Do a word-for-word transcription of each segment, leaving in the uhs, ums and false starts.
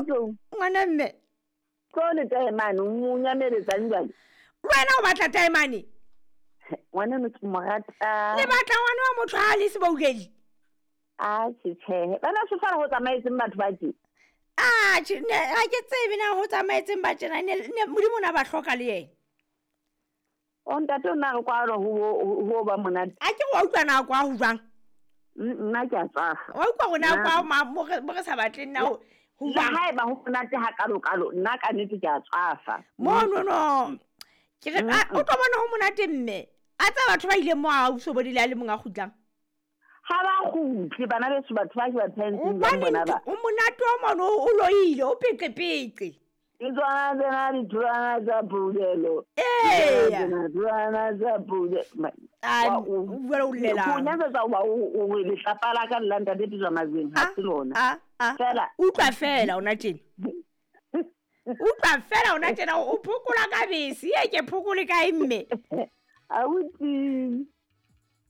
Ngwana mme. Tlo le taemane o nyameletsang jwale. Wena o batla taemane? Ngwana no ke mo rata. Le batla ngwana wa motho ha le seboukeli. A tjhe tjhe. Bana se fara ho tsamaetseng batho ba tje. Ah, tjhe ne ha ke tsebe na ho tsamaetseng ba tjena ne Modimo na ba hloka le yena. O ntate o na re kwalo ho ho ba monate. A ke wa utlwa na kwa ho jwang? Nna ke a tswafa. Wa utlwa rona kwa mo re sa batleng na ho jwang? Ha eba ho monate ha kalo kalo nna ka nnete ke a tswafa. Mo no no. Ke re o tlo bona ho monate mme. A tsa batho ba ile mo a o sobodile a le monga kgutlang. Ha ba kgutle bana beso batho ba ke ba tshwantseng ba bona ba. O monate o mono o loile o peqe peqe. Ke tswana tsena ditholwana tsa pulelo. Ee. Ditholwana tsa pulelo. A o bua o llela. O nyatsa o o letlapa la ka la ntate Pitswa Mazweng ha se lona. Fela utlwa fela ona tjena. Utlwa fela ona tjena o phokola ka bese e ke phokole kae mme. Abuti.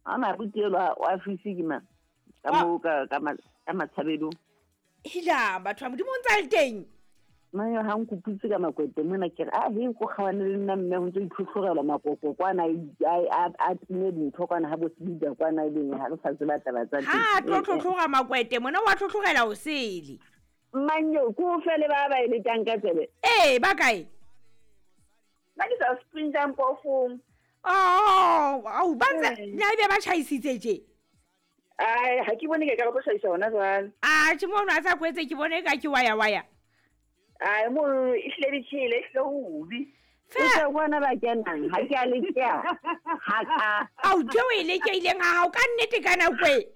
Ana butelo wa fisi ke mang? Ka mo ka ka ka matshabelo. Hila batho ba Modimo o ntsa le teng. Mane ha nkupitse ka makwete mona ke re a he ko kgawane le nna mme ho ntse itlhotlhorela makoko kwana a a time dintho kwana ha bo sebida kwana e leng ha re sa tseba taba tsa teng. Ha tlo tlhotlhora makwete mona wa tlhotlhorela o sele. Manyo ko fele ba ba ile tang ka tsebe. Eh ba kae? Ba ke sa sprinta mpofong. Oh, au ba ntse na ebe ba tjhaisitse tje. Ai ha ke bone ke ka go tjhaisa hona jwale. Ah, tjhe mono a sa kwetse ke bone ka ke waya waya. Ai mo e hlile di tjhele e hlile hobi. Fela bona ba kenang ha ke a le kea. Ha ka. Au tjhe o ile ke ileng ha hao ka nnete ka nako e.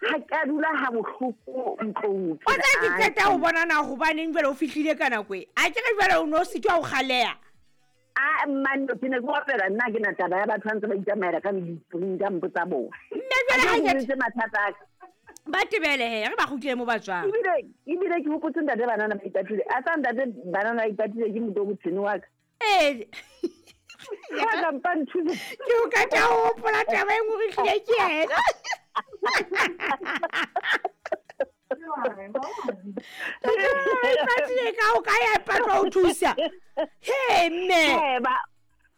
Ha ka dula ha bohloko ntlong. O tla ke qeta ho bona na hobaneng jwale o fihlile ka nako e. A ke re jwale o no sitwa ho kgaleha. A man ke ne ke opela nna ke na taba ya batho ba ntse ba itsamaela ka di-spring tsa bona. Mme jwale ha ke mathata a ka. Ba tebele he re ba kgutlele mo ba tswang. Ebile ebile ke hopotse ntate banana ba ipatile. A tsa ntate banana ba ipatile ke motho o botshene wa ka. Eh. Ka ka mpa nthusa. Ke o ka tla hopola taba e nngwe re hlile ke yena. Ipatile ka o ka ya ipatla o thusa. He mme. Eh ba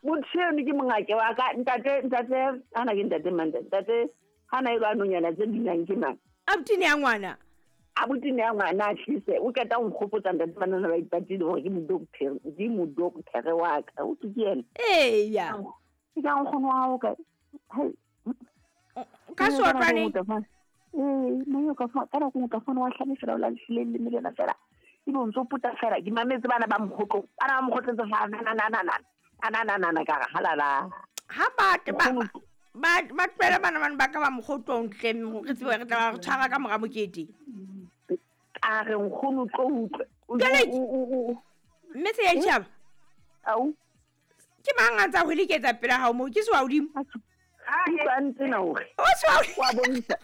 motho eno ke mongake wa ka ntate ntate ana ke ntate mang ntate hana e lwa nonyana tse binang ke mang. Abutini ya ngwana. Abutini ya ngwana a tlise o qeta ho nkgopotsa ntate banana ba ipatile hore ke modoktere ke modoktere wa ka o ke yena. Eya. Ke ka nkgono wa hao ka. Ka sotlwane. Eh moyo ka fa ka go ka fona wa hlabe fela o la hlile le melena fela. E bo ntso puta fela ke mametse bana ba mokgotlo. Bana ba mokgotletse fa na na na na na. Na na na na ka halala. Ha ba ba ba ba tlohela bana bana ba ka ba mokgotlong tle re tsebe re tla re tshwara ka mora mokete. A re nkgono tlo utlwe. Mme se ya tjhaba. Au. Ke mang a ntsa ho leketsa pela hao mo ke se wa hodimo. Ke ba ntse na hore. O se wa wa bontsha.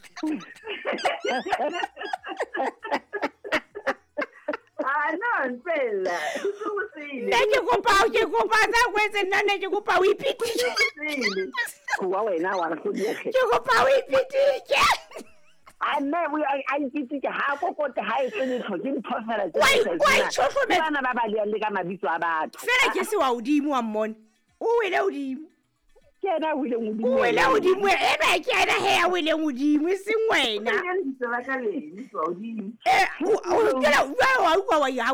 Ah no, fela. Nna ke kopa ke kopa tsa kwetse nna ne ke kopa o ipitike. Wa wena wa re hlodiege. Ke kopa o ipitike. A nne o a ipitike ha kokote ha e tsene tlho ke ntho fela tse. Wa itšhohlometse. Bana ba ba le ka mabitso a batho. Fela ke se wa hodimo wa mmone. O wele hodimo. Ke ena o ileng hodimo. O wele hodimo e be ke ena he ya weleng hodimo e seng wena. Eh o kela wa utlwa wa ya o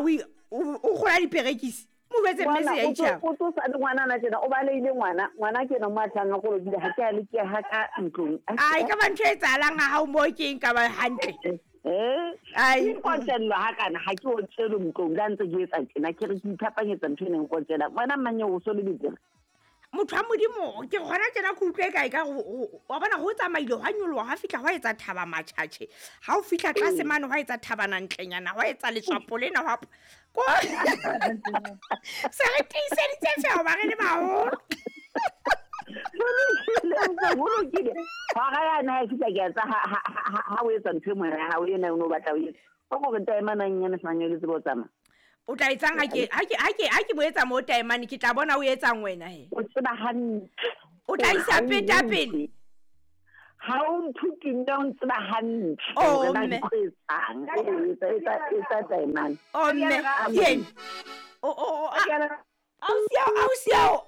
kgola diperekisi. Mo jwetse mme se ya itjhaba. O tsosa le ngwana na tjena o baleile ngwana. Ngwana ke ena mo a tlang a kolobile ha ke a le ke ha ka ntlong. Ai ka ba ntho e etsahalang ha hao mo ke eng ka ba hantle. Eh ai nkotsellwa ha kana ha ke o tselo ntlong la ntse ke etsa tjena ke re ke iphapanyetsa ntho ene nkotsela. Wena mmanye o so le ditsela. Motho wa Modimo ke gona tjena ke utlwe kae ka wa bona ho tsamaile hwa nyoloha ha fihla hwa etsa thaba matjhatjhe ha o fihla tlase mane hwa etsa thabana ntlenyana hwa etsa letswapo lena hwa ko se re tiiseditse fela ba re le baholo ho lokile hora ya na e fihla ke etsa ha ha o etsa ntho e mona ha o ena o no batla o etsa o gore taemanang nyana semanyolo tsebo tsamaya. O tla etsang ha ke ha ke ha ke ha ke mo etsa mo taemane ke tla bona o etsang wena he. O tseba hantle. O tla isa peta pele. Ha o nthuti nne o ntseba hantle Oh, hore na mme. ke tlo etsang. Ee, etsa etsa etsa taemane. O mme Ka ke eng? O o o a- ausi ao, ausi ao.